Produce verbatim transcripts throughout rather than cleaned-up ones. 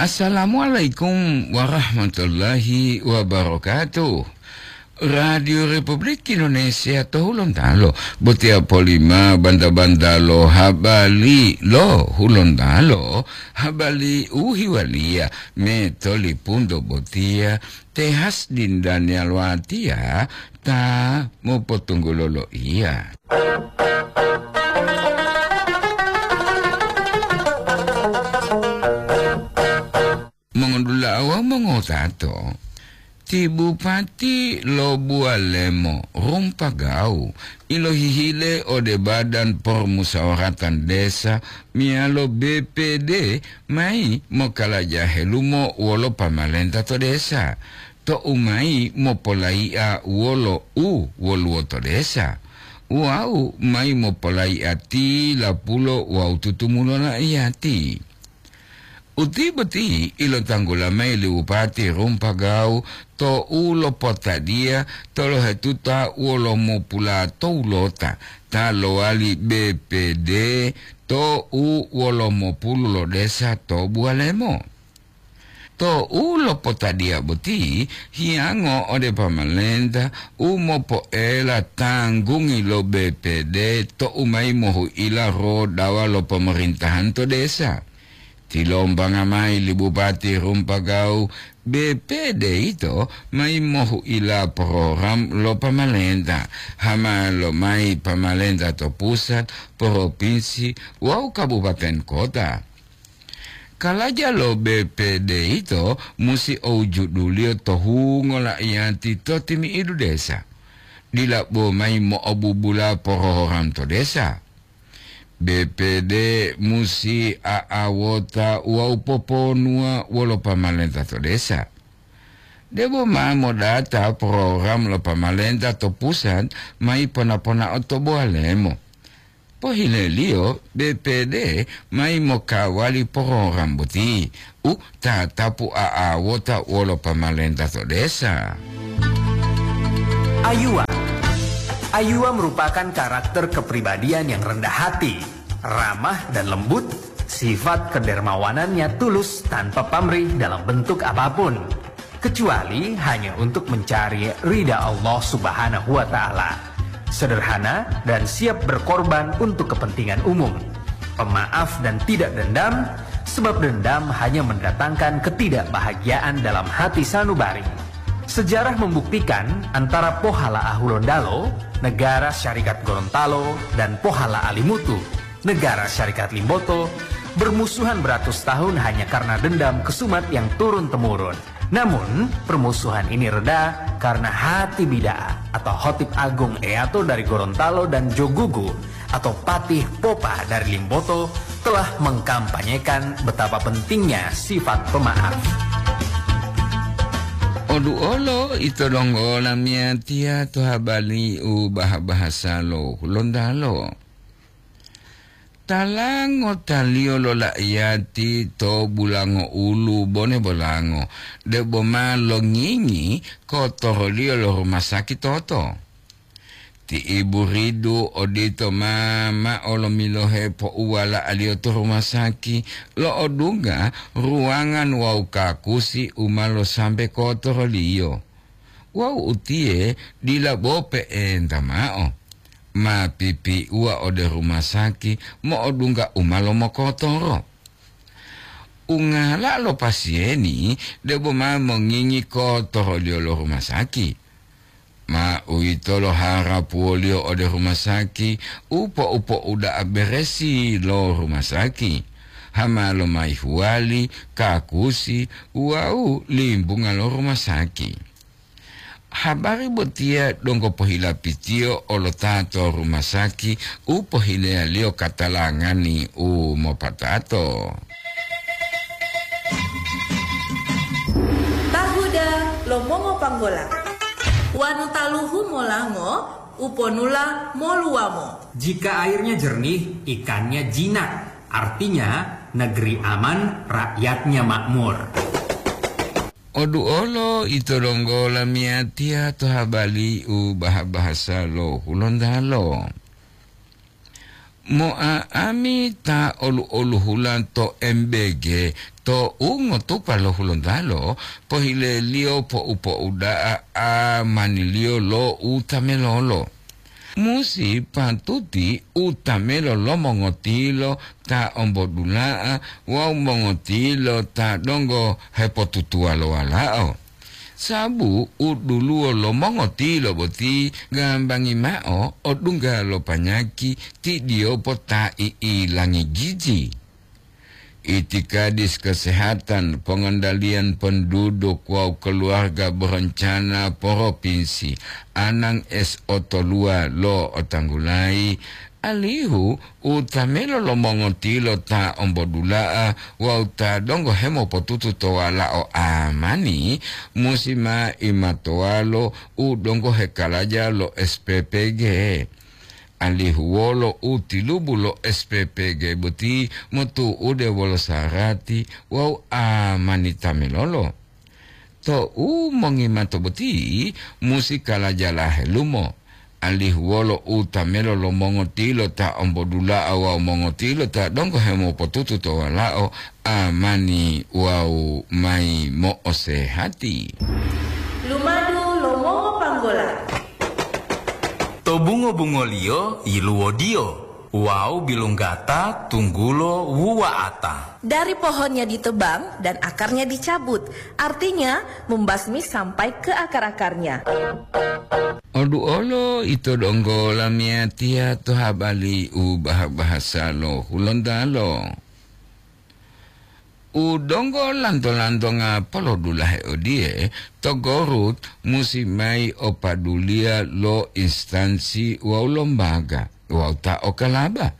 Assalamualaikum warahmatullahi wabarakatuh. Radio Republik Indonesia to Hulontalo, botiya polima banta-banta lo habari lo Hulontalo, habari u hiwaliya me tolipunto botiya, Tehas Dindanial Watiya ta mopotunggulo loiya. Mongondula'a wawu mongotato, ti Bupati lo Bualemo Rumpagau ilohihile ode Badan Permusawaratan Desa meyalo B P D mayi mokalaja helumo wolo pamalenta to desa, to'u mayi mopolai'a wolo u woluwo to desa, wawu mayi mopolai'a tilapulo wawu tutumulo la'iyati. Uti boti ilotanggula mayi li Bupati Rumpagau to'u lopotadiya tolohetuta wolo mopula towulota ta lowali B P D to'u wolo mopulu lo desa to Bualemo. To'u lopotadiya boti hiyango ode pamalenta u mopoela tanggungi lo B P D to'u mayi mohu'ila rodawa lo pemerintahan to desa. Tilombanga mayi li Bupati Rumpagau, B P D ito mayi mohu'ila program lo pamalenta, hama lomayi pamalenta to pusat, propinsi, wawu kabupaten kota. Kalaja lo B P D ito musi owujuduliyo to hungo la'iyati to timi'idu desa. Dila bo mayi mo'obubula program to desa. B P D musi a'awota wawu poponuwa wolo pamalenta to desa. Debo ma modata program lo pamalenta to pusat mayi pona-ponao to Boalemo. Pohileliyo, B P D mayi mokawali program boti u tatapu a'awota wolo pamalenta to desa. Ayuwa. Ayuwa merupakan karakter kepribadian yang rendah hati, ramah dan lembut, sifat kedermawanannya tulus tanpa pamrih dalam bentuk apapun, kecuali hanya untuk mencari ridha Allah Subhanahu wa Ta'ala. Sederhana dan siap berkorban untuk kepentingan umum. Pemaaf dan tidak dendam, sebab dendam hanya mendatangkan ketidakbahagiaan dalam hati sanubari. Sejarah membuktikan antara Pohala Ahulondalo, Negara Syarikat Gorontalo, dan Pohala Alimutu, Negara Syarikat Limboto, bermusuhan beratus tahun hanya karena dendam kesumat yang turun-temurun. Namun, permusuhan ini reda karena Hati Bida'a atau Hotip Agung Eyato dari Gorontalo dan Jogugu atau Patih Popa dari Limboto telah mengkampanyekan betapa pentingnya sifat pemaaf. Oduolo ito donggo lamiyatiya to habari u bah-bahasa lo Hulontalo. Tala ngotaliyo lo la'iyati to bulango ulu bone bolango, debo ma longingi kotoroliyo lo rumasaki toto. Ti ibu ridu odito ma ma'o lomilohe pouwala'aliyo to rumasaki, lo'odungga ruwangan wawu kakusi u ma losambe kotoroliyo. Wawu utiye dila bo pe'enta ma'o, ma pipiuwa ode rumasaki mo'odungga u ma lomokotoro. Ungala lo pasiyeni debo ma mongingi kotoroliyo lo rumasaki. Ma uwitolo harapuwoliyo ode rumasaki u po'u-po'uda'a beresi lo rumasaki, hama lomayi huwali, kakusi wawu limbunga lo rumasaki. Habari botiya donggo pohilapitiyo olo ta to rumasaki u pohileyaliyo katalangani u mopatato. Tahuda lo mongopanggola. Wanu taluhu molango, uponula moluwamo. Jika airnya jernih, ikannya jinak. Artinya, negeri aman, rakyatnya makmur. Oduolo ito donggo lamiyatiya to habari u bah-bahasa lo Hulontalo. Mo'a'ami ta olu-oluhula to M B G, to u ngotupa lo Hulontalo, pohileliyo po'u-po'uda'a amaniliyo lo u tamelolo. Musi patuti u tamelo lo mongotilo ta ombodula'a wawu mongotilo ta donggo hepotutuwa lo walao. Sabu u duluwo lo mongotilo boti gambangi mao odungga lo panyaki tidiyopo ta i'ilangi giji. Itikadis kesehatan, pongondaliyan penduduk wawu keluarga berencana provinsi Anang S O Toluwa lo otanggulayi, alihu u tamelo lo mongotilo ta ombodula'a wawu ta donggo hemopotutu to walao amani, musi ma imatowalo u donggo hekalaja lo S P P G. Alihu wolo u tilubu lo S P P G boti motu'ude wolo sarati wawu amani tamilolo. To u mongimato boti musi kalaja lahelumo, alihu wolo u tamelo lo mongotilo ta ombodula'a wawu mongotilo ta donggo hemopotutu to walao amani wawu mayi mo'osehati. Lumadu lo mongopanggola. To bungo-bungoliyo yiluwodiyo wawu bilunggata tunggulo wuwa'ata. Dari pohonnya ditebang dan akarnya dicabut, artinya membasmi sampai ke akar-akarnya. Odu olo ito donggo lamiyatiya to habali u baha-bahasa lo Hulontalo. U donggo lanto-lantonga polodulahe odiye, to Gorut musi mayi o paduliya lo instansi wawu lombaga wawu ta okalaba.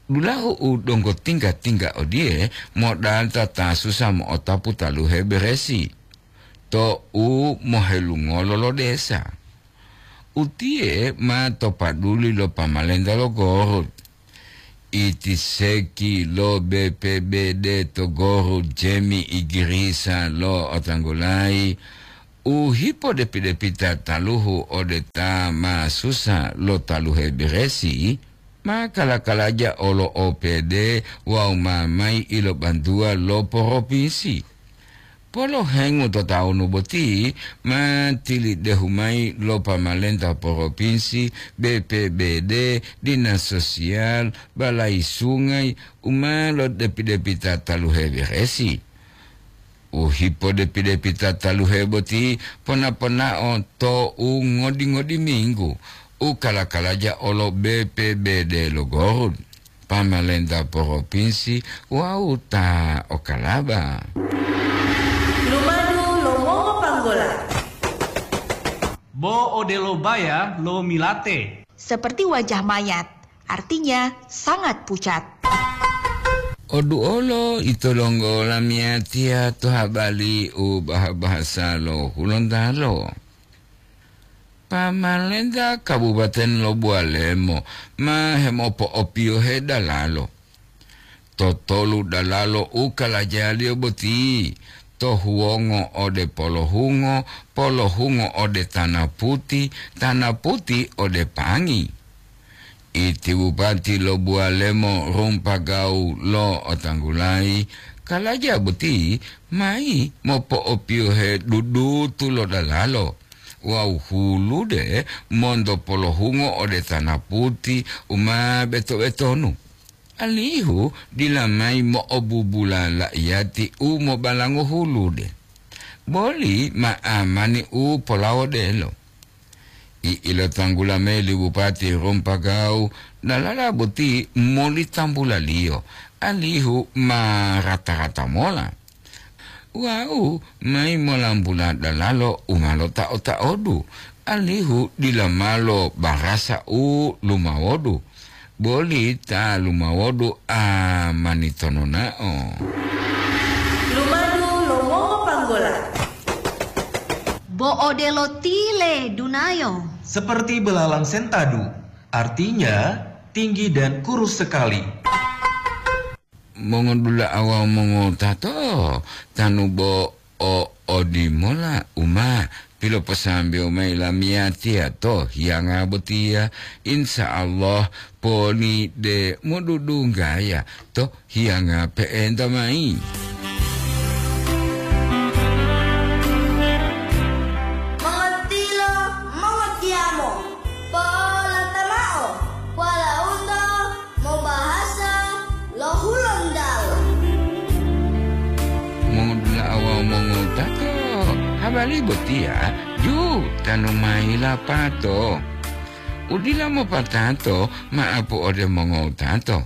Dulahu u donggo tingga-tingga odiye modata ta susa mo'otapu taluhe beresi to u mohelungolo lo desa. Utiye ma to paduli lo pamalenta lo Gorut. Iti seki lo B P B D to Gorut Jemi Igirisa lo otanggulayi u hipodepi-depita taluhu ode ta ma susa lo taluhe beresi, ma kala-kalaja olo O P D wawu ma mayi ilobantuwa lo poropinsi. Polohengu to tawunu boti ma tilidehu mayi lo pamalenta poropinsi, B P B D, dinas sosial, balayi sungayi u ma lodepi-depita taluhe beresi. U hipodepi-depita taluhe boti pona-ponao to u ngodi-ngodi minggu u kala-kalaja olo B P B D lo Gorut, pamalenta poropinsi wawu ta okalaba. Lumadu lo mongopanggola. Bo odelo baya lo milate. Seperti wajah mayat, artinya sangat pucat. Odu olo ito donggo lamiyatiya to habali u baha-bahasa lo Hulontalo. Pamalenta Kabupaten lo Buwalemo ma hemopo'opiyohe dalalo. Totolu dalalo u kalajaliyo boti, to huwongo ode polohungo, polohungo ode tana puti, tana puti ode pangi. Iti bupati lo Buwalemo Rumpagawu lo otanggulayi, kalaja boti mayi mopo'opiyohe dudutu lo dalalo wawu hulude monto polohungo ode tana puti u ma beto-betonu, alihu dila mayi mo'obubula la'iyati u mobalango hulude, boli ma amani u polawodelo. I'ilotanggula mayi li Bupati Rumpagawu dalala boti moli tambulaliyo, alihu ma rata-rata mola. Wawu mayi molambula dalalo u ma lota'o-ta'odu, alihu dila malo barasa u lumawodu, boli ta lumawodu amani tononao. Lumadu lo mongopanggola. Bo odelo tile dunayo. Seperti belalang sentadu, artinya tinggi dan kurus sekali. Mongodula'a wawu mongotato, tanu bo o odimola uma piloposambewo mayi lamiyatiya to hiyanga botiya, insya Allah poni de modudunggaya to hiyanga pe'enta mayi. Mongotilo, mongotiyamo, po'olata mao, walauto mobahasa lo Hulontalo. Mongudula'a wawu mongowutato, habari botiya ju tanu mayi lapato. U dila mopatato ma'apu ode mongowutato.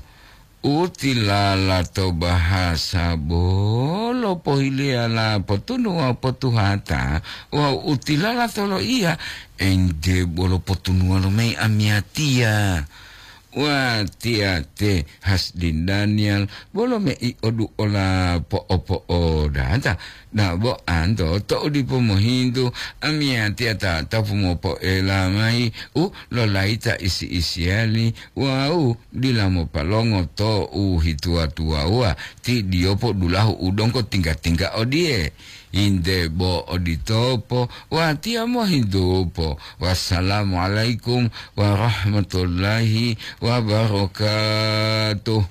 U tilala to bahasa bolo pohileyala potunu wawu potuhata, wawu u tilala to loiya ente bolo potunuwa lomayi amiyatiya. Watiya te Hasdin Daniel bolo mei oduola po'opo'odata. Dabo anto to'u dipo mohintu, amiyatiya ta tapu mopo'ela mayi u lolayita isi-isiyali wawu dila mopalongo to u hituwa-tuwawuwa, ti diyopo dulahu u donggo tingga-tingga odiye. Inde bo oditopo, watiya mohintupo. Wassalamualaikum warahmatullahi wabarakatuh.